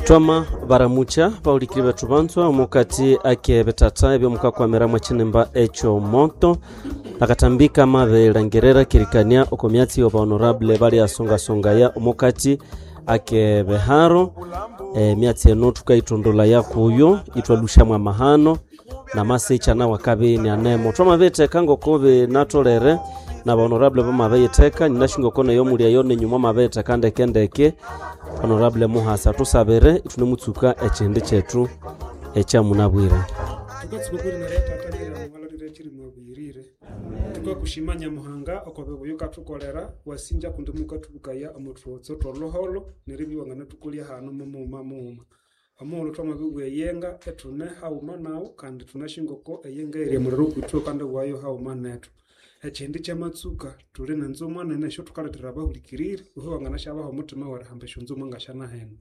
Twama baramucha baulikiri bethu banzwa omukati ake betata ebyomukakwamira mwachinemba ekyo moto akatambika mabelangerera kirikania okomyatsi yoba honorable bali asongasongaya omukati ake beharo myatsi eno tukaitondolaya yakuyo itwalushamwa mahano namasicha nawo akabini anemo twamabitheka ngokubi natolere na honorable bamabeyitheka ninashingoko neyo mulyayo nenyuma mabeyitheka ndekendeke honorable muhasa tusabire itunemutsuka ekindi kyethu ekyamunabwira. Tukatsuka kwerinaretataniremwalarire chirimwabwirire tukakushima Nyamuhanga okobibuya ukathukolera wasinja kundi mukatubukaya omuthutso twoloholo neribya iwanganathukolya hanu mumughuma mughuma. Omughulhu twamabibugha eyenga ethune haghuma nawu kandi thunashingoko eyenga eyiri omuliro okwithu kandi wayo haghuma nethu. Ekindi kyamatsuka thuli nenzumwa nene esyothukalethera abahulikiriri iwe wanganasyabaha omuthima werihamba esyonzumwa ngasyanahino.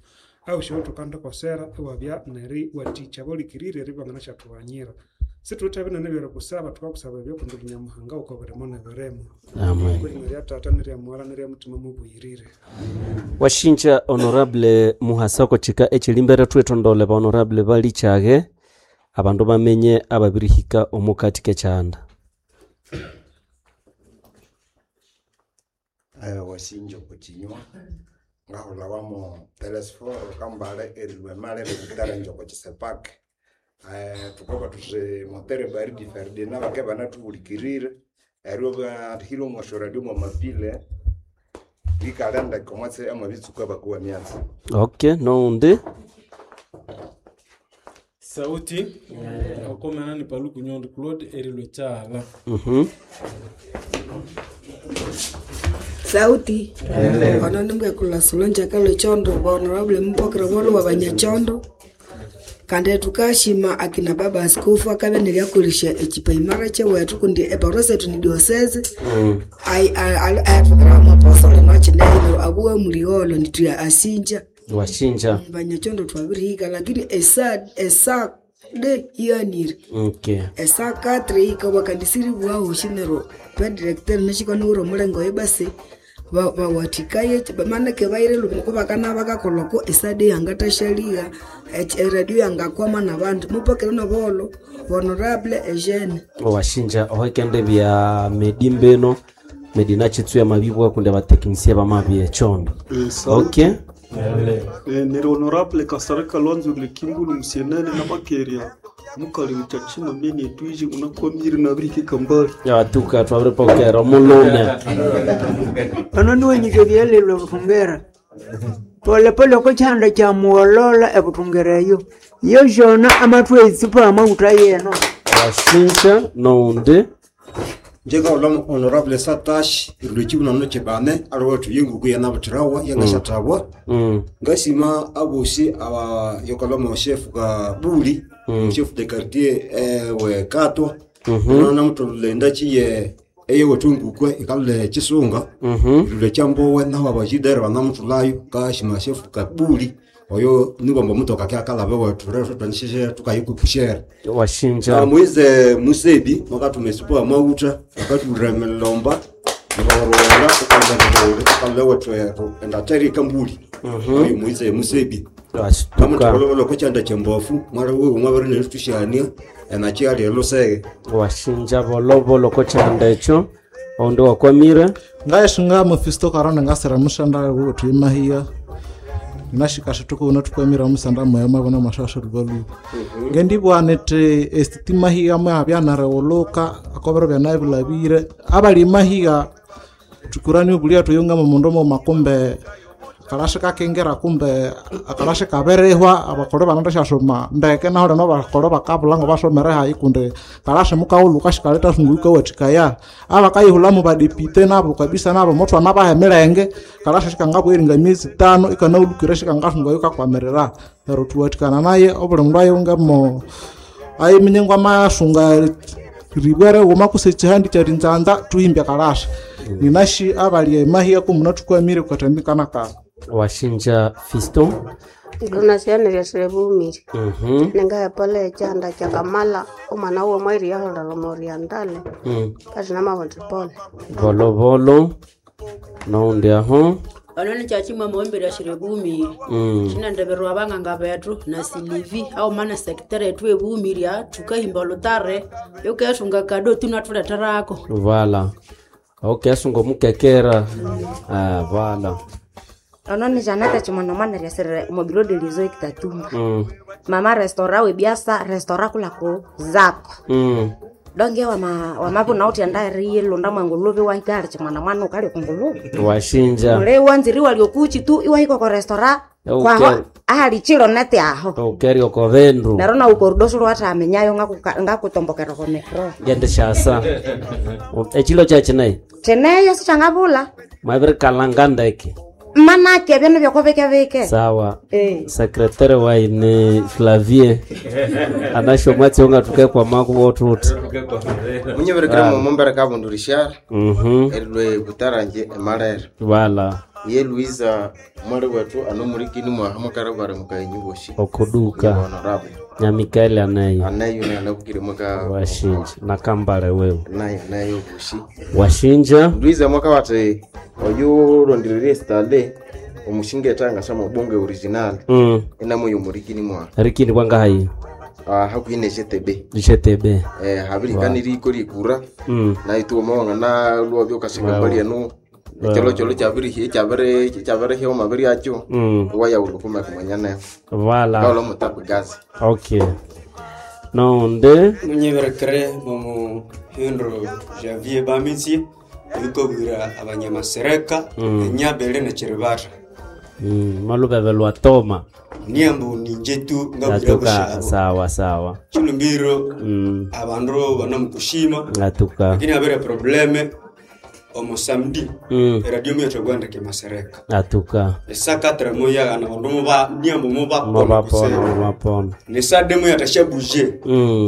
Ahu syowe thukandikosera iwabya neriwathikya abahulikiriri eribya ibanganasyathubanyira. Sithuwithe binene ebyerikusaba, thukakusaba ebyo kundi uli Nyamuhanga wukobirimo nebirimo. Amen. Kw'erina rya Tata nerya Mughara nerya Mutima Mubuyirire. Washinja honorable muhasa okochika ekilimbere thwithondole ba honorable balichaghe abandu bamenye ababirihika omukati kekyanda. Wasinja okukinywa ngahulhawamu Telesforo Kambale erilwa emali eributara oko kisepaki. Thukabugha thuthi Motere Baridi Ferdinand bakabya ibanathuhulikirire eryo bahira omwa syoradio mwamapile bikalha ndeke omwatsi amabitsuka bakowa emyatsi. Okay, noundi Sauti okomena ni Paluku Nyondo Claude erilwe kyala. Sauti ono nimbwekula Solange Akalo Chondo honorable mupokera bolo wa Banyachondo kandi tukashima akina baba askofu akabya neryakolesya ekipaimara kyewethu kundi eparosi ethu ni diocese ayathuthwira mwaposole nokineyo abuwa muliolo nithuya asinja. Washinja. Banyachondo twabirihika lakini esa de iyanire. Okay. Esa katre ikabwa kandi siribuwahoshi neryo padirector nashikaniwira omulengo oyo basi bawathikaye manake baire lubiri bakana bakakolhako esade yangathasyaliha eradio yangakwama nabandu mupakire nobuholho honorable Eugene. Washinja ohekende bya medimbeno medina chitsuya mabibwa kundi abatekinisia bamabye echondo. Okay. Neri honorable Kasareka Lwanzo Likimbulu Musienene na Makeria mukali mutachima mene etwije unakwamire nabirike kambali. Yatuka twabiripokera omulume. Ono niwenyike byelelwe buthungera polepole oko kyanda kya mugholola ebuthungera eyo yoshona amathwa etsipa amawutha yeno. Washinja noundi Njengahulha honorable Satash erilwa ekyibunano kyibane aliwethu yenguku yanabuthirawa yangashathabwa. Ngasima abosi aba yokalhwa chef Kabuli chef de quartier we Katwa namutholha endaki ye eyewethu engukwe ikalhwa ekisunga erilwa ekyambowe nahu abajidere banamuthulhayo. Ngashima chef Kabuli oyo nibwamba omutoka akalhaba ewethu rero thwanisheshe tukayikupushera. Washinja. Moise Musebi mwakathuma esupu amawutha akathulira emilomba nibawarowera ukalha ewethu endateri ekambuli oyo Moise Musebi. Washituka. Namutholololo kokyanda kyembofu mwali wiwe mwabiri nerithusyania enaki ali elusege. Washinja bolobolo kokyanda ekyo oundi wakwamire. Ngayisunga Mephisto Karone ngasira musanda wethu emahiya nashikasha tukuwona tukwamira musanda mwaya mwabona mashasha lubaluba ngendibwana nti esitima hiya mwabya narewuluka akobero byanabilabire abali mahiya tukurani obulia tuyunga mumundu muma kumbe akalasha kakengera kumbe akalasha kaberehwa abakolo banandasyasoma ndeke naho lino abakolo bakabulha ngo basomere hayi kundi kalasha mukawuluka shikaleta sunguka wathikaya abakayihulhamu badepite nabo kabisa nabo muthwana baha emilenge kalasha shikangabweringa myezi tano ikanawulukire shikangasungayo kakwamirira neryo thuwathikana naye obuli mundu ayungemo ayiminya ngwamasunga ribwere wuma kuse ekihandi kyarinzanza thuhimbye kalasha ninashi abali emahiya kumuna thukwamire kukatambikana kala. Washinja Fiston. Ndonasianire sire bumire ningahepala ekyanda kyakamala omwana wuwe mwairiyaholera omoriandale kasi namabona pole. Bolobolo noundi aho. Ono ni kyakimwe mumbere ashire bumiri. Shinendeberwa abanganga bethu na Silivi auma na secretary yetu ebumiria tukahimba olutare yukesunga kado tunathuletherako. Vala. Okay, asunga omukekera. Ah, vala. Ono ni Janete Chimwana ryasirire omobiro delizo ekitatumba. Mama restaurant webiasa restaurant kulako zako. Donge wama wamabuna uthi enda lunda mwanguluvi wahikali chimwana mwana ukali kunguluvi. Washinja. Mule wanziri waliokuchi tu iwahika ko restaurant Okay. kwaho ahali chilo nete aho. Ukeri oko vendu. Nero na ukorudosu lwatamenyayo ngakutombokera ko metro. Gende shasa. Echilo chachinai. Cheneyo sichangabula. Mwabirikalanga ndeke. Manake byano byakobekebeke. Sawa. Eh. Sekretari waine Flavie anasho mwatsi onga tukekwa makubo tuti. Munyeberekere mu mumbere kabundu Richard. Erilwe butaranje emalere. Wala. Ye Luiza mwali wetu anomurikini mwaha mukarabare mukaenyi boshi. Okuduka. Honorable. Na Mikaeli anayo. Anayo na anabukire mwaka Washinja na kambale wewe. nayo nayo boshi. Washinja. Luiza mwaka wate oyo rondirerie stale omushinga etanga sama bonge original. Enamo yomurikini mwaha. Rikini kwanga hayi. Hakuine GTB. GTB. Habirikani riko rikura. Na ituo mawanga na luo byokashinga mbali eno. Cholo cholo chabiri chabere chabere hyo mabiri acho. Waya ulukuma kumanyana. Vala. Kaulo mutapu gazi. Okay. Nonde. Munyeberekere mu Hindro Javier Bamitsi ebikobwira abanyamasereka enyabele nekiribata. Malubebe lwa toma. Niambu ninje tu ngabwira Ngatuka bushabo. sawa sawa. Chilumbiro abandu banamukushima. Ngatuka. Lakini abere probleme omo samedi eradio mwetu gwandike masereka. Ngatuka. Esakatra moya ana bandu muba niambu muba Mubapona mubapona. Nesade moya tashabuje.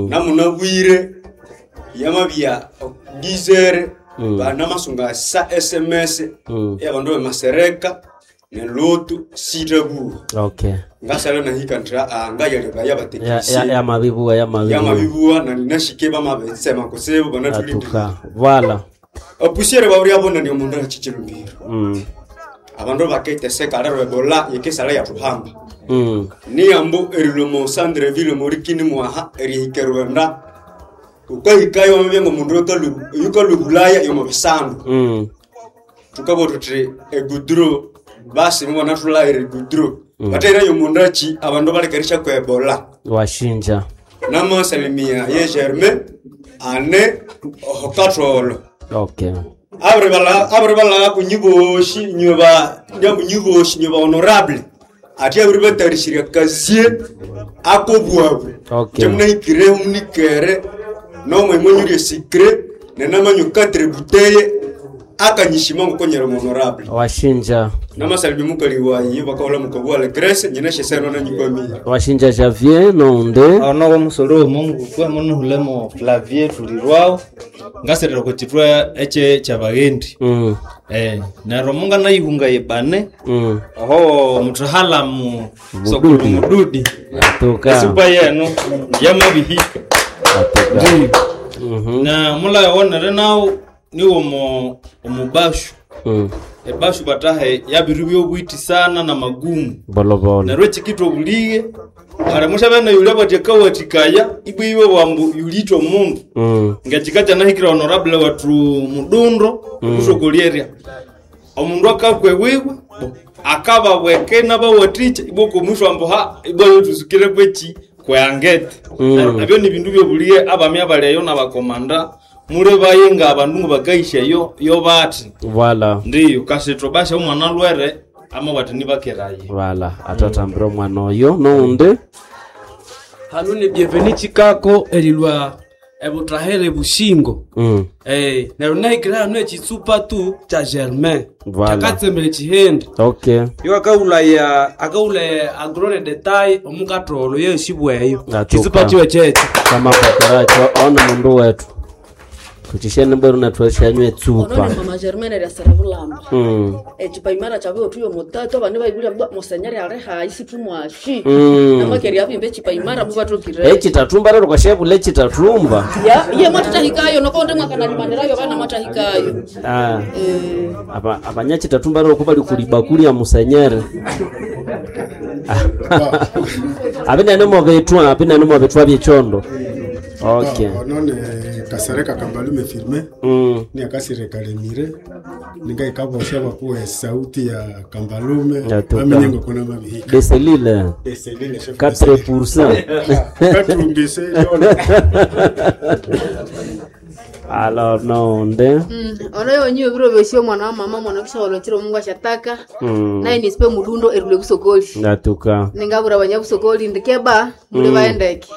Namunabwire yamabya gizere banamasunga sa SMS yabandu bemasereka nelotu sitabu. Okay. Ngasala nahika ntra ngayaleba yabatekisi. Ya ya mabibuwa ya mabibuwa. Yamabibuwa na ninashike bamabetsema kusebo banatulindira. Ngatuka. Vala. Opusiere baburi abona ni omundu achichilumbiro. Abandu baketeseka lero ebola yekesala yatuhamba. Niyambo erilomo Sandreville morikini mwaha erihika Rwanda. Ukahikayo wamabya ngomundu yukalwe Bulaya yomo bisandu. Tukabo tuti egudro basi mubona tulaire egudro. Batera yomundu achi abandu balekeresha kwa ebola. Washinja. Namasalimia ye Germain ane ohokatolo. Okay. Abri bala kunyiboshi nyoba nyamunyiboshi nyoba honorable. Ati abri batarishira kazie akobwabu. Okay. Temunahikire munikere nomwe mwenyurie sikre nenamanyu katre buteye akanyishima ngukonyera honorable. Washinja. Namasalimia mukali wayi bakaola mukabwa le Grace nyeneshe seno na nyikwamia. Washinja Javier nonde. Ono womusolo womungu kwe munuhulemo Flavier tulirwao ngasirira kuchitwa eche kyabaghendi. Neryo munga nayihunga yebane. Oho mutahalamu sokulu mududi. Atuka. Esupa yenu yamabihika. Atuka. Na mulayawonere nawo niwo omubashu. Ebashu batahe yabiru byobwiti sana na magumu. Bolobolo. Neryo ekikitwa obulighe hali mushabene yulya bwati akawathikaya ibwiwe bwambu yulithwa omundu. Ngekika kyanahikira honorable wethu mudundo kusokolyerya omundu akakwa ewiwe akababweke nabawathikya ibwa okomwisho ambu ha ibwa yothusukire kweki kweyangete. Neryo ebyo nibindu byobulighe abami abali eyo nabakomanda mulebaye ngabandu ngabakaisya yo bathi. Vala. Ndiyo kasitho basha omwana alwere amabati nibakeraye. Vala atatambira omwana oyo nonde. Hano ni bienveni chikako erilwa ebutahere bushingo. Neryo nahikira hano ekitsupa tu kya Germain. Vala. Kyakatsembere chihindi. Okay. Yo akaulaya akaulaya agrone detail omukatolo yeshibweyo. Ngatuka. Kitsupa chiwe checho. Kama pakaracho ono mundu wetu. Tuchishene bweru na twashanywa etsupa. Onone mama Germaine ryasira bulamba. Echipaimara chabe otuyo mutatu abana baibulya musenyeri ali hayi situmwashi. Namakeri abimbe echipaimara mubatokire. Ekitatumba rero kwashebula ekitatumba. Ya, iye mwatahikayo nokonde mwakanalimanirayo abana mwatahikayo. Ah. Aba abanyakitatumba rero kuba likulibakuli ya musenyeri. Abinene mobetwa, abinene mobetwa byechondo. Okay. Onone Kasereka Kambalume firme ni akasire kalemire ningaikabosha bakuwe sauti ya Kambalume bamenye kuna mabihika Deselile. Deselile chef 4%. Katumbise yona. Alors nonde. Ono yonyiwe biro byosi omwana wa mama mwana kishaolo chiro Mungu ashataka. Naye nisipe mudundo erule busokoli. Ngatuka. Ningabura banyabusokoli ndikeba muli baendeke.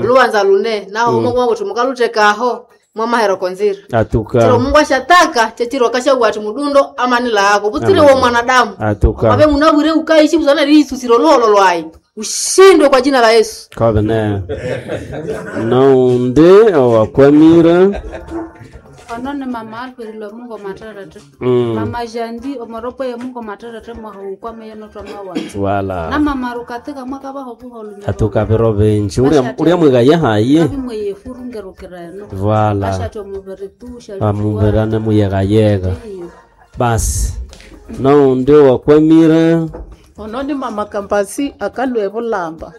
Lubanza lune naho mwa kuti mukalutekaho mwamahero konzira. Atuka. Chiro Mungu ashataka chechiro kashabwa ati mudundo amanila ako butsire wo mwanadamu. Atuka. Abe munabwire ukaishi buzana liisusiro lolo lwayi. Ushindwe kwa jina la Yesu. Kabene. Nonde owakwamira. Onone mama alferilwa Mungu materete. Mama jandi omoropo ya Mungu materete mwahukwame yenotwa mawanza. Wala. Na mama rukatika mwaka baho buholu. Atuka biro binji uria mwigaye hayi. Abimwe yefurungerukireno. Wala. Ashatyo mubiri tu shali. Amuberane muyegayega. Basi. Nonde owakwamira. Ononi mama kampasi akalwe bulamba.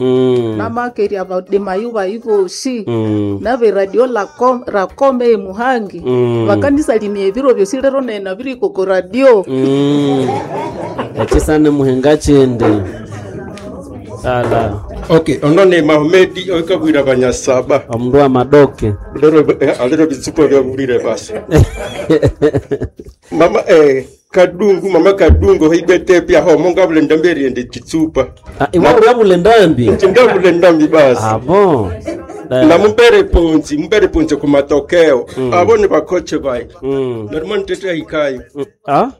Namakeria badimayu baiboshi. Nabe radio rakome emuhangi. Bakanisa limie ebiro byosi lero nena biri koko radio. Ekisane muhenga chindi. Ala. Okay, onone Mahomedi oikabwira banyasaba. Omundu wa madoke. Lero alero bitsuko byabulire basi. Mama Kadungu, mama Kadungu hibete pia ho munga bule ndambi ende chitsupa. Iwe uria bule ndambi? Ndambi ndambi basi. Ah bon. Na mumpere ponzi, mumpere ponzi ku matokeo. Abo ni bakoche bai. Narimo nitete ikayo. Ah?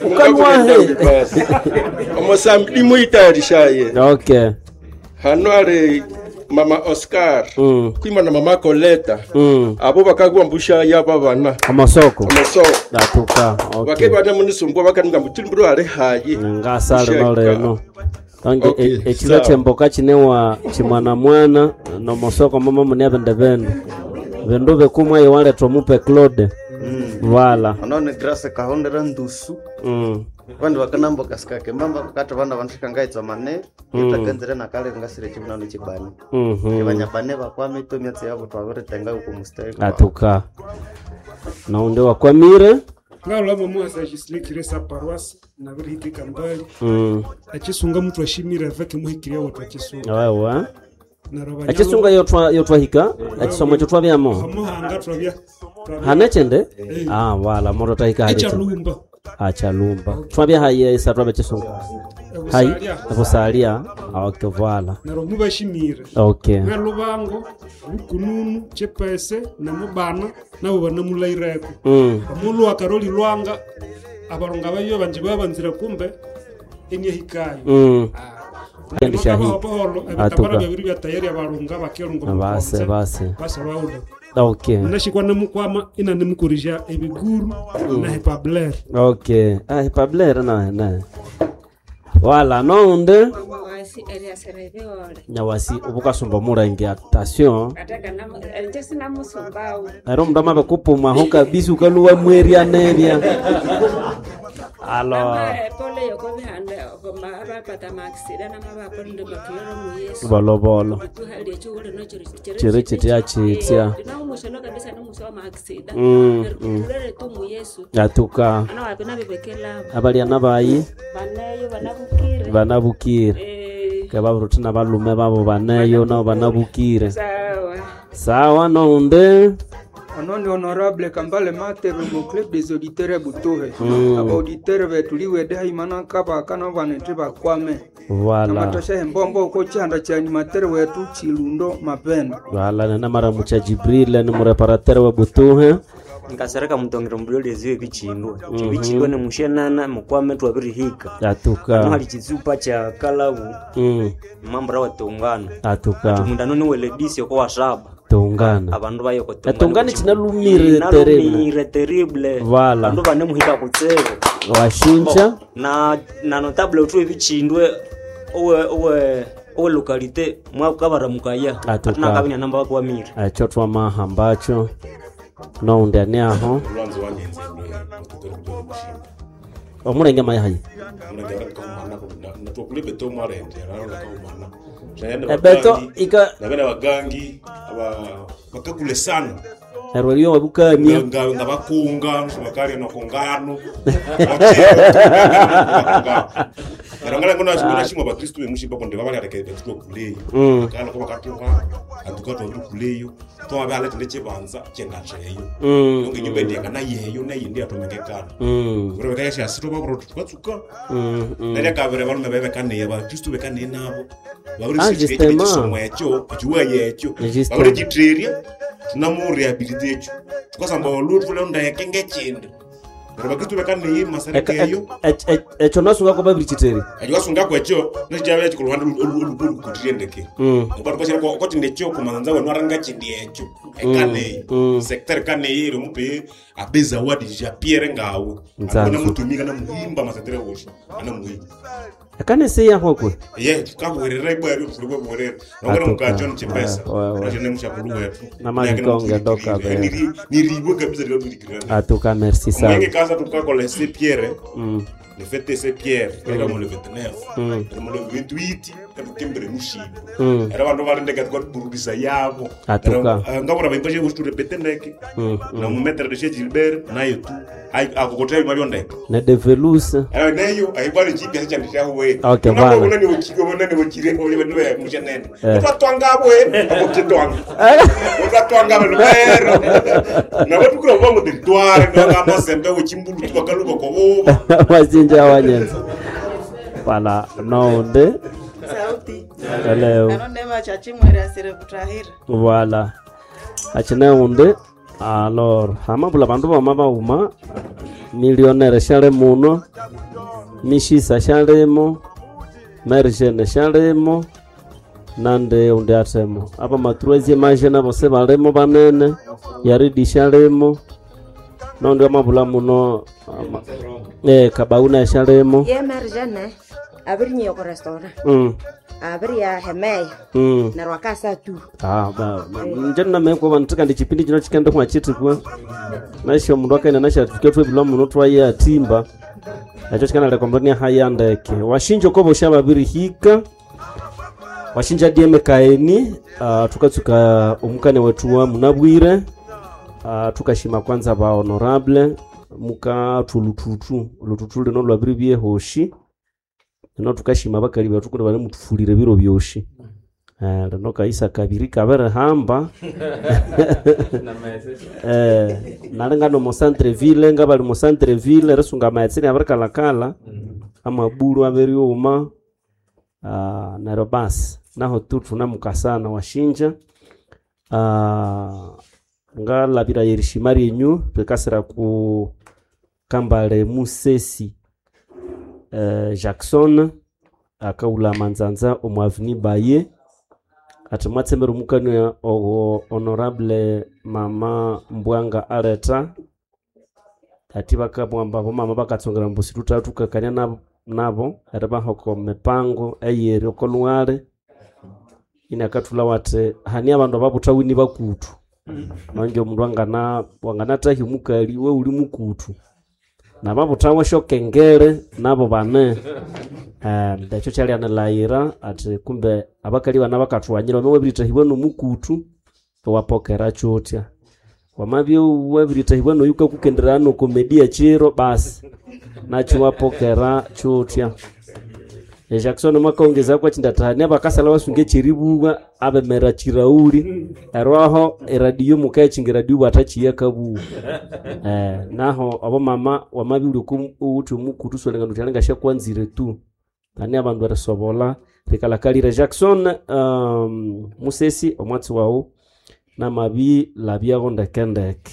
Ukalwahe. Basi. Omosambi muitayarishaye. Okay. Hano ari mama Oscar kwima na mama Coleta. Abo bakagwa mbusha yaba bana. Amasoko. Amasoko. Atuka. Okay. Bakebana munisumbwa bakaninga mutimbiro ari hayi. Ngasale noleno. Tange Okay, ekiro sawa. kyemboka kinewa kimwana mwana nomosoko mama mune bende benu. Bindu bikumwa iwaletwa mupe Claude. Wala. Onone Grace kahondera ndusu. Vandu vakanamba kasikake mbamba kati vana vanthika mane itakanzire nakale ngasire chimunano chibane. Vanyabane vakwame itomiatsi yavo twaviritenga uko mustari. Atuka. Naunde wakwamire. Ngalwa mama agislikire sa paroisse nabirihika mbali. Achisunga mtu ashimire veke muhikiria watu achisunga. Wewe. Achisunga yotwa yotwahika achisomo chotwa byamo. Hamuhanga twabya. Hanechende? Ah wala moro tahika hali. Echalumba. Achalumba. Twabya haye isa twabya chisunga. Hai, busalia. Okay, voilà. Naro mubashimire. Okay. Nalubango, bukununu, chepese na mubana nabo banamulaireko. Omulu akaroli lwanga abalonga bayo banje babanzira kumbe enyehikayo. Kendisha hii. Atuka. Babiri bya tayari abalonga bakelunga. Base base. Base bawulo. Okay. Nashikwa namukwama ina nimukurisha ebiguru na hepabler. Okay. Ah hepabler na na. Wala nonde. Nyawasi ubukasumba mulenge attention. Ero mundu amabe kupuma ho kabisa ukaluwa mweria nebya. Alors. Bolobolo. Chiri chitya chitya. Atuka. Abalia nabayi. Banabukire. Ke baburuti na balume babo baneyo nabo banabukire. Sawa nonde. Ononi honorable Kambale Matebe mu club des auditeurs ya Butohe. Aba auditeur betuliwede haimana kaba kana banete bakwame. Wala. Namatosha embombo uko chihanda cha animateur wetu Chilundo Mapendo. Wala nana mara mucha Jibril ni mureparateur wa Butuhe. Nkasereka mutongero mbulio lyeziwe bichindwa. Bichindwa ni mushenana mukwame twabirihika. Atuka. Hano hali chizupa cha kalabu. Mambo rawa tungana. Atuka. Mundano ni weledisi kwa wasaba. Tuka. Etongana. Abandu bayo ko Etongana chinalumire terrible. Nalumire terrible. Voilà. Abandu banemuhika kutsibu. Washinja. Bo, na notable uthu ebichindwe owe owe owe localité mwakabaramukaya. Atuka. Atinakabina namba bakwamire. Ekyo twamahambacho noundi ani aho Olwanzo wanyenze lwe omulenge mayahayi natwakula ebeto mwarende rarolekaumana Ebeto ika- nabene abagangi bakakule sana neryo eriyo wabukamia nga bakunga bakalya nokungano neryo bakristu bemushimba kundi babalyaleka betutwa kuleyo akala ko bakatuka atuka twabiri kuleyo twabala tinde chibanza chengacheyo yonke nyumba endiyangana yeyo neyindi yatomengekana uri bekayashasi twababura tukatsuka nerya kabiri abalume bebekaniye bakristu bekaniye nabo Ah, justement. babiri ekyo ekiwaye ekyo Justement. babiri tunamurehabilite ekyo tukasamba olutu lundeke ngekindi neryo bakristu bekaniye masereka eyo ekyo nasungako babirichiteri ekyo kasungako ekyo nekyabe ekikuluhande olukutire ndeke okotinde ekyo kumanza wenu aranga kindi ekyo ekaneyi secteur kaneyi iri mupe abe zawadi ja pierre ngawe Nzanzu. anamutumika namuhimba masetere wosho anamuhimba ekanisa eyahokwe ye tukabwerera ibweri tulibwebwerera nongera Atuka. mukacho nichipesa nachene mushakulu wetu Namakikonge doka be. niriwe kabisa likatwirikirana atuka merci omwenge sana kasa tukakola se pierre le fête se pierre era mo le 29 era mo le 28 etukimbere mushibo era bandu balindeka tukatuburudisa yabo Atuka. ngabura baimba she turepete ndeke na mumetre de Gilbert nayo tu akokotela malio ndeke ne develuse era neyo ayibali chipya chandishawe Okay, bana. unani uchiko unani uchire ole niwe mushanene Eh. utatwangabwe akokitwanga utatwanga lubero na watu kula bongo territoire na mazembe uchimbulu tukakaluka kwa wasinja wanyenza wala nounde Sauti. Hello. Anonema chachimwere asire kutahira. Voilà. Achine unde alors hamabula bandu bama bauma millionaire shale muno mishisa shalemo mergene shalemo nande unde atemo apa matruezie majene bose balemo banene yaridi shalemo nonde amabula muno ama, kabauna shalemo ye merjene abirinyiye ku restaurant abiriya hemeya neryo akasa tu Ah, nje namekwa vantu kandi chipindi chino chikenda kumachitipwa nasho mundu akaenda nashatufike twevilwa muno twaye atimba nacho chikanalekombania haya ndeke washinja uko bosha babirihika washinja dieme kaeni tukatsuka omukane wetu wa munabwire tukashima kwanza ba honorable mukathu lututu lututu lino lwabiri byehoshi lino tukashima bakali bethu kundi banemutufulire biro byoshi. Lino kaisa kabiri kabirihamba nalinga nomo centre ville nga bali mu centre ville risunga amaghetse abirikalakala amabulu abiriuma neryo basi naho tu thunamukasana washinja ngalabira yerishima ryenyu rikasira ku kambale musesi Jackson akaula manzanza omu aveni baye ati mwatsembera omukania ogo honorable mama mbwanga aleta ati bakamwamba bomama bakatsongera mbu situtatukakania nabo, nabo eri bahoko mipango eyeri oko lwale inakathula wati hani abandu ababuthawini bakutu nonge omundu angana wanganatahya omukali we uli mukutu nababuthawa syokengere nabo bane ekyo kyalyanilhaghira ati kumbe abakali bana bakathughanyira wama wabiritahibwa nomukutu wapokera kyutya wamabya wabiritahibwa noyu kakukendera nokomedia chiro basi nakyo wapokera kyutya Jackson mwakaongeza kwa chindatahani abakasala basunge chiribuwa abemera chirauli erwaho eradio mukayachinga eradio bwatachiya kabuwa naho abo mama wamabiri uthi omukutu solenga nuti alinga shakwanzire tu ani abandu erisobola rikalakalira Jackson musesi omwatsi wawu namabi labyago ndekendeke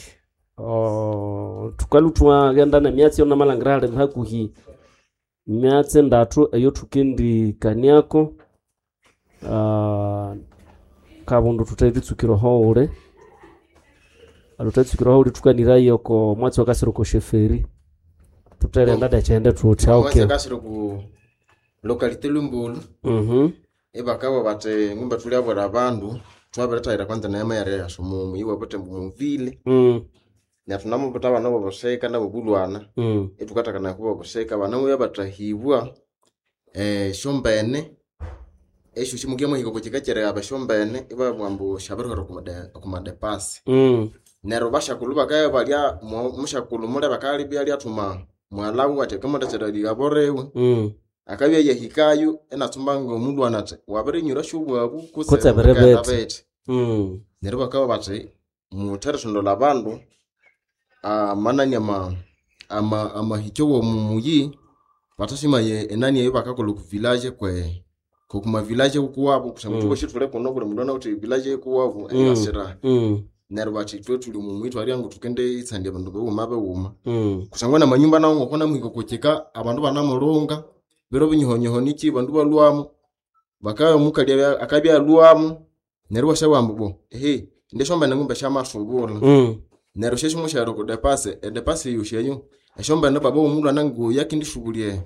thukalhu thwaghenda nemyatsi yonamalhangira hali hakuhi myatsi ndathu eyo thukendikaniako kabundu tuthe tutsukire oho uli aluthe tsukireho uli tukanirayo ko mwatsi wakasira ko sheferi tutherenda dekyende tutya okay. Kasiro ku localité Lumbulu. Ibakabwa bati ngumba tuliabwera abandu twabirithahira kwanza neema yari yasumumu iwe butembo muvile. Neryo tunamubuta abana bobusika nabobulwana. Ithukathakanaya kubobusika abana muya bathahibwa esyombene esyo simukia mwahika okwa kyerigaba esyombene ibabugha ambu syabirihwera okumadepasi. Neryo basyakulhu bakabya balya musyakulhu mulebe akalibya lyathuma mughalha athi akamuthasya erigabo riwe. Akabya yahikayo inatsumba ngomulwana athi wabirinyura syobwabu kutse kutse biri bikaghenda bithi. bithi. Neryo bakabugha bathi mutherisondola abandu amanani amahikyo womumuyi bathasimaya enani eyo bakakolha oku village kwe kokuma village kuwabu kusangwa thubasi thuli kuno buli mundu anawithe village kuwabu eyasira. Neryo bathi ithwe thuli mumuyi thwalya ngu thukenditsandya abandu bighuma bighuma. Kusangwa namanyumba nawo ngoko namuhika okwa abandu banamulunga biro binyihonyiho niki bandu balhwamu bakabya omukali akabya alhwamu neryo iwasabugha ambu bo ehe indi esyombene ngumbe syamasubula. Neryo syasimusyahera oko depasi edepasi eyosi eyo esyombene baba womulwana ngoyu akindisubulya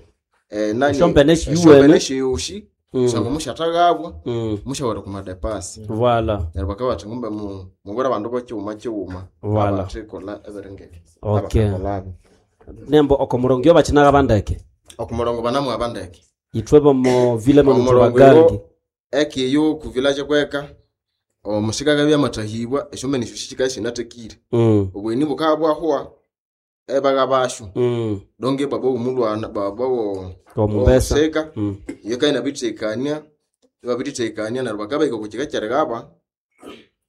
enani Esyombene esiyuwene. esyombene esyosi kusangwa musyathaghabwa musyahera okwa madepasi. Voilà. Neryo bakabugha bathi ngumbe mubwire abandu bokighuma kighuma Voilà. abathikolha ebiringebyo Okay. abakakolhabyo. Nembo oko murongo bakinaga bandeke Okumurongo banamwaba ndeke. ithwe bomo vile mono Omurongo tubagangi ekiyo ku village kweka omusika akabya amathahibwa esyombene esyo sikabya sinathekire. Obweni bukabya bwahwa ebaghabasyo. Donge baba womulwana baba wo Omumbesa. womusika iyo kayina bithekania ibabirithekania neryo bakabahika okwa kika kyerighaba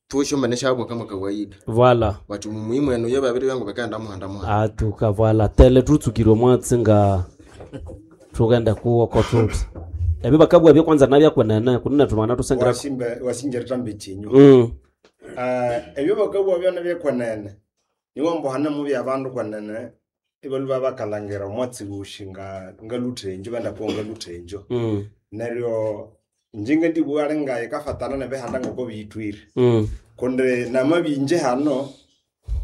tu esyombene syabwa kama kawaida. Voilà. Bathi mumuyi mwenu iyo babiribya ngu bikaghenda muhanda muhanda. Atuka voilà tele tutsukire omwatsi nga thugenda kuwoko thuthi ebyo bakabugha byokwanza nabyakunene kunene thumana tusengira Wasimba wasinjereta mbekinyo. Ebyo bakabugha byona byekwenene niwo mbu hane mubya abandu kwenene ibalhuba bakalhangira omwatsi wosi nga ngaluthenjo bandakuwa ngaluthenjo. Neryo inje ngandibugha ali ngayikafatana nebihanda ngoko biyithwire. Kundi namabinje hano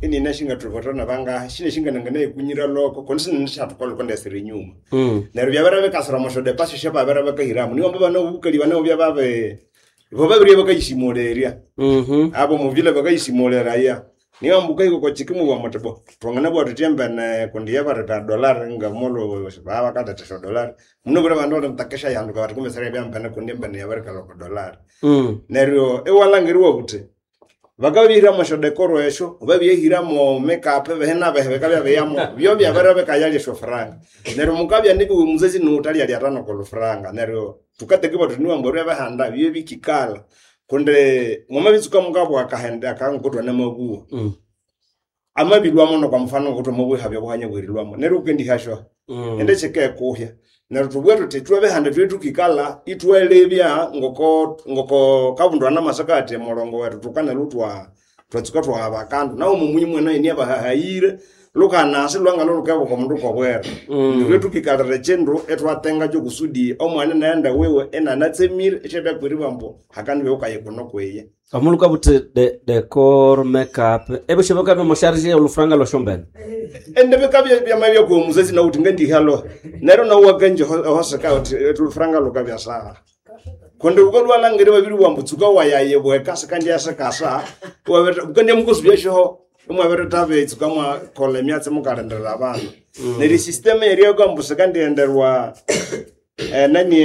inina shingathubuthira nabangahi shine shingananganayikunyira loko kundi sinene syathukolha kundi enyuma. Neryo byabere bikasira omwa syodepasi syababere bakahiramu niwo mbu bana obukali bana byababe bo babirye bakayisimulerya. Abo muvile bakayisimuleraya. Niwo mbu ukahika okwa kikimu muthi bo thwanganabugha thuthi embene kundi yabareta dolari ngamulhu babakaletha esyodolari munabwire abandu balimitakesha yanduka bathi kumbe siribya mbene kundi embene yabirikalha okwa dolari. Neryo iwalhangira iwabugha wuthi bakabihiramu esyodekoro esyo babyehiramu makeup ebihi nabihi bikabya biyamu byo byabere bikayalya esyofuranga. Neryo mukabya nibiwe muzazi niwuthalyalya atano oko lufuranga neryo thukatekibwa thuthi niwa ambu ebyabihanda bye bikikalha kundi mwamabitsuka mukabugha akahende akanguku thwanamabugha. Amabilhwamu nokwa mufano ngoku thwamabugha ihabya obuhanya obwerilhwamu neryo wukendihasyo indi kyikekuhya. Neryo thubughe thuthi ithwe ebihanda ithwe thukikalha ithwalebya ngoko ngoko kabundu anamasaka athi omulongo wethu thukanalhwa thwa twatsuka thwaghaba akandu nawu mumuyi mwene iniabahahayire lukanasi lwangalho lukebuka omundu kobwera. Ithwe thukikalira ekyindu ithwatengakyo kusudi omwana inaghenda wiwe inanatsemire isyabya kwiribwa ambu hakandibya wukaye kuno kwiye. Omulhuka buthi decor makeup ebyo bikabya musharge olufuranga lwesyombene. Ende bikabya byamabya kuwe muzazi nawuthi ngandihalo neryo nawu wakanje ehoseka uthi olufuranga lukabya saha. Kundi wukalhwa babiribugha ambu tsuka wayayibweka sikandiyasikasa wukandya mukasubya syoho imwabirithabya itsuka mwakolha emyatsi mukalindirira abandu. Neryo esystem eyeriyako ambu sikandiyenderwa enani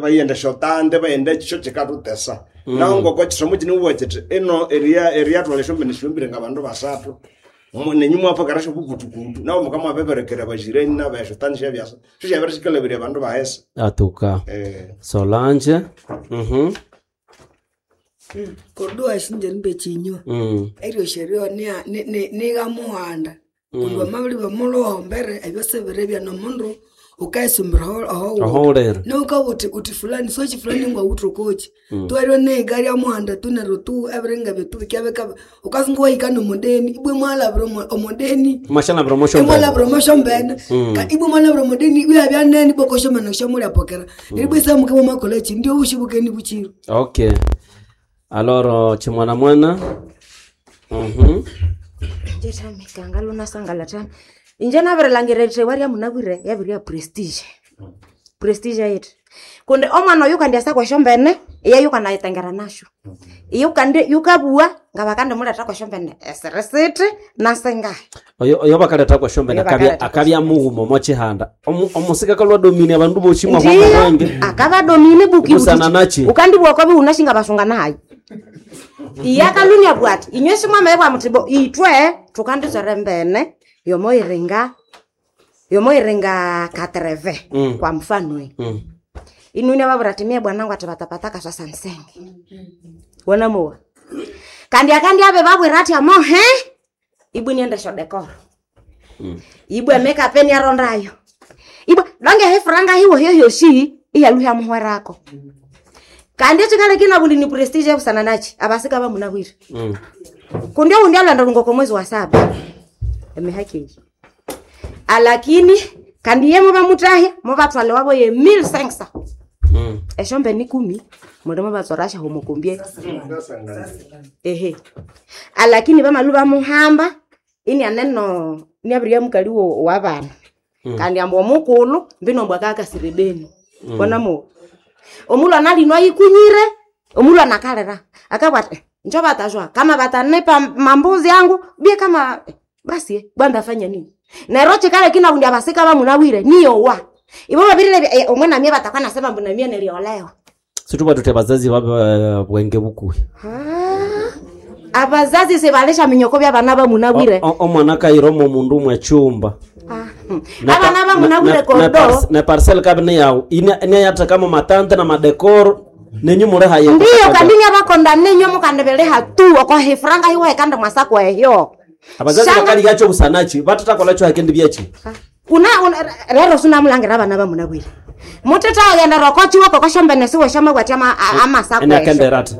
bayenda esyotande bayenda ekyi syo kyikathutesa. Nahu ngoko kisomo kinimubugha kyithi ino eriyathwalha esyombene syombire ngabandu basathu nenyu imwaphakara syobukutukutu nahu mukamwabibirekera abajirani nabo esyotande syabyasa syo syabirisikalhabirya abandu bahesa. Atuka Solange. Kodwa sinje chinywa eryo sherio niga muhanda kundi wamabiribya omulhuhombere ebyo sibiribya nomundu ukayisumbira Ohowulere. niwukabugha uthi uthi fulani sochi fulani ngwawuthe okochi tu eryo niga rya muhanda tu neryo tu ebiringa ebyo tu bikyabika ukasunga wahika nomudeni ibwa imwalhabira omudeni Mwashalhabira omwasyombene. imwalhabira omwasyombene ibwa imwalhabira omudeni ibwa yabya nene ibwa okosyombene syamulyaphokera neryo ibwa esaha mukabya mwamakolha kyi ndio obushi bukeni bukyiro. Okay. Aloro chimwana mwana. Njetamikanga lunasangala tami inje nabirilhangira erithewa rya munabwire yabirya prestige prestige yaithi kundi omwana oyu kandi asa kwesyombene iye yukanayitengera nasyo iyo kandi yukabua ngabakandimuleta kwesyombene esirisiti nasingahi Oyo oyo bakaleta kwesyombene Oyo akabya bakaleta akabya mughuma omo chihanda. Omusika kalwa domini abandu boshi mwa Ndiyo, mwenge. akabadomine buki Busana nachi. ukandibwa kwabi unashinga basunga nayo iyakalunya bwati inywe simwamaye mutibo itwe tukanditswere mbene yomoyiringa yomoyiringa katreve kwa mfano inune babura timie bwanangu ati batapataka sasa nsenge wanamuwa kandi akandi abe babwira ati amohe ibwe niende shodekoro ibwe makeup eniarondayo ibwe donge hefuranga hiwo hyohyoshi iyaluhya muhwerako kandi echikalekina bundi ni prestige ebusana nachi abasika bamunabwire kundi oundi alwenda lungo kwa mwezi wa saba emihaki eyi alakini kandi ye mubamutahya mubatwale wabo ye 1500 eshombe ni kumi muli mubatsorasha homokombie ehe alakini bamalu bamuhamba ini aneno niabiria mukali wa bana kandi ambu omukulu mbino mbwa kakasirebeni bona mo omulhu analinwa yikunyire omulhu anakalira akabwati njo batajwa kama batanipa mambuzi yangu bie kama basi bwanda fanya nini nero chikale kina kundi abasika bamunawire niyowa ibo babirire omwana mie batakwa nasema mbona mie niliolewa Situba tute bazazi babe bwenge bukuhi. abazazi sebalesha minyoko bya bana bamunawire Omwana kayiromo mundu mwe chumba. abana bamunawire kodo Ne parcel kabine yawu. Ine ine kama matante na madekoro nenyu mure haye. ndiyo kandi nyabakonda nenyo mukandebeleha tu okohifuranga hiwe kandi mwasako ehyo Abazazi Shanga- bakali yacho busanachi batatakola cho hakendi byachi. una, una rero sinamulangira abana bamunabwire mutetaghenda rokochiwa kokoshombene siwe shamabwati ama amasako Ene esho akenderata.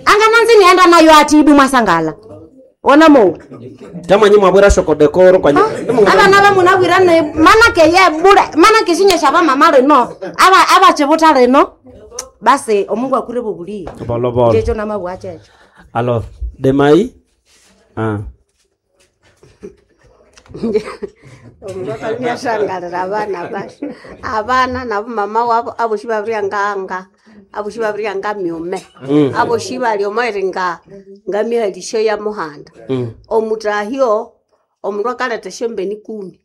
angananzi nienda nayo ati ibu mwasangala ona mo Tamanyi mwabwera shoko dekoro kwanye. abana bamunabwira ne mana keye bure mana kishinya ba mama rino aba abachibuta rino basi omungu akure bubulie Bolo bolo. jecho namabwachecho Alors, demai. Ah. Omundu akalunyasangalira abana basyo abana nabo mama wabo abosi babirya nganga abosi babirya ngamyume abosi bali omoiri nga ngamihalisyo ya muhanda omutahyo omundu akaleta esyombeni kumi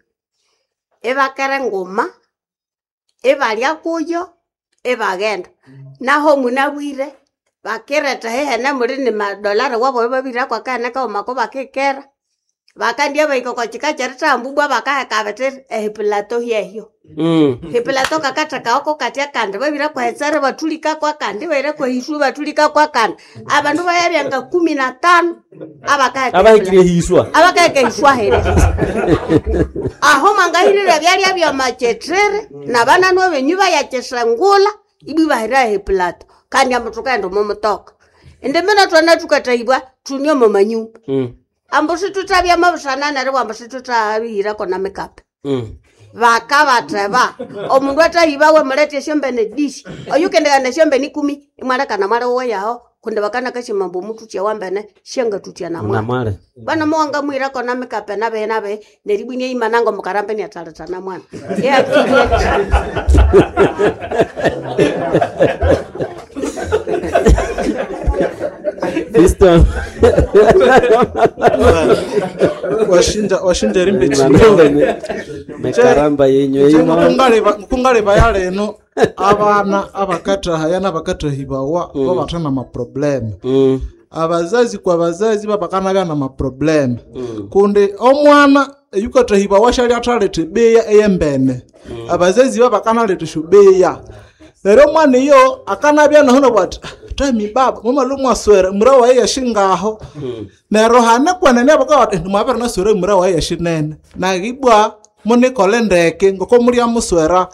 ibakera enguma ibalya kuyo ibaghenda naho munabwire bakireta hehene muli ni madolari wabo babirako akahene kaghuma bakikera bakandya bahika oko kika kyerithambubwa bakaheka bithi ehipilato hyehyo hipilato kakathekaoko katya kandi babira kwahetsere bathulikako akandi bahira kwahiswe bathulikako akandi abandu bayabya nga 15 abakaheka Abahikire hiswa. abakaheka hiswa here aho mwangahirira byalya byamakyethere nabananwa benyu bayakyesengula ibwi bahira ehipilato kandi ambu thukaghenda omo mutoka indi mina thwana thukatahibwa thune omo manyumba ambu situthabya mabusana neryo ambu situthabihirako na mikape bakabatheba omundu athahibawe mulethe esyombene dishi oyukendekana esyombene ikumi imwalekana mwali wuwe yaho kundi bakanakashima ambu omuthutya wambene syangathutya namwali Namwale. bana muwanga mwirako na mikape nabehe nabehe neribwinia imanango mukarambe niathaletana mwana yeakirie Fiston. Washinja washinja rimbe Mekaramba yenyu imo. Mukungaleba ya leno abana abakatahaya n'abakatahibawa babathana maprobleme abazazi kwa bazazi babakanabya na maprobleme kundi omwana eyukatahibawa syali athaletha ebeya eyembene abazazi babakanaletha esyobeya neryo omwana iyo akanabya naho nabwati tami baba mwamalu mwaswera mura waye yashingaho neryo hane kwenene bakabati mwabere naswera mura waye yashinene nagibwa munikole ndeke ngoko mulya muswera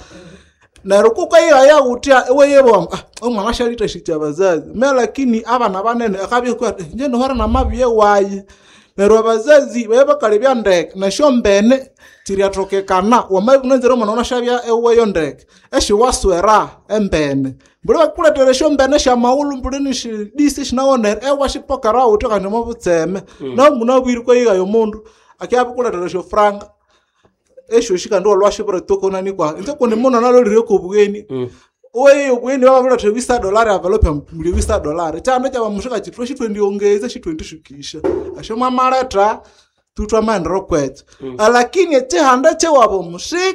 neryo kukayiraya utya iweyebwa omwana syalithashikya abazazi me lakini abana banene akabya nje nihore namabiye wayi Neryo abazazi baye bakalebya ndeke nesyombene kyiryatokekana wamabya unanzire omwana wanasyabya eweyo ndeke esyiwaswera embene. Mbuli bakulethera esyombene syamaghulhu mbuli nisyidisi sinawonere ewashipokera wuthi kandi omo butseme. Nahu munabwire ukayigha omundu akyabya esyofranga esyosi kandi walwashibirituka unanikwa inje kundi muno nalolire kobugheni oye obweni bababuletha wisa dolari avelope muli wisa dolari kyanda kyabamushika kyithu shitwendiongeza shitwendishukisha esyo mwamaletha tutwa maendero kwethu alakini ekihanda kyewabo mushika.